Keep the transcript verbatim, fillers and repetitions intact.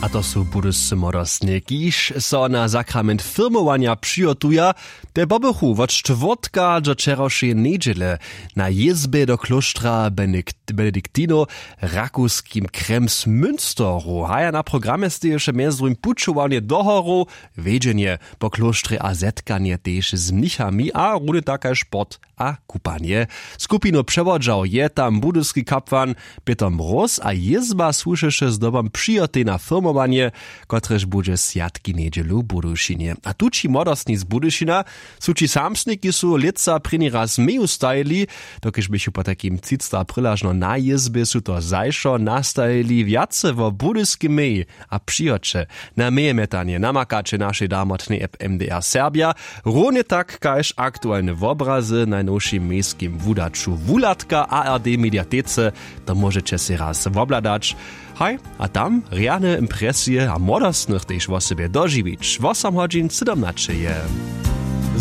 A to su budyscy młodostnje, kiž so na sakrament firmowanja přihotuja. Te pobychu wot štwórtka do wčerawšeje njedźele na jězbje do klóštra benediktinow w rakowskim kremsmünsteru. Haja na programje steješe mjez druhim pućowanje do horow, wjedźenje po klóštrje a zetkanje tež z mnichami a runje tak kaž sport a kupanje. Skupinu přewodźał je tam budyski kapłan pětr mróz a jězba słušeše zdobom přihotej na firmowanje, kotrež budźe swjatki njedźelu w budyšinje. A tući młodostni z budyšina su ći samsni kiž su lětsa prěni raz meju stajili, dokelž běchu potajkim třicta prylažno na jězbje su to zašo nastajili wjace wo budyskim meji a přihoće. Na mejemjetanje namakaće našej damotnej app mdr serbja. Runje tak kaž aktualne wobrazy w najnowšim mejskim wudaću wuhladka ard mediatece. To móžeće sej raz wobhladać. Haj, a tam rjane impresije a młodostnych tež wosebje dožiwić wosom hodźin sydomnaće je.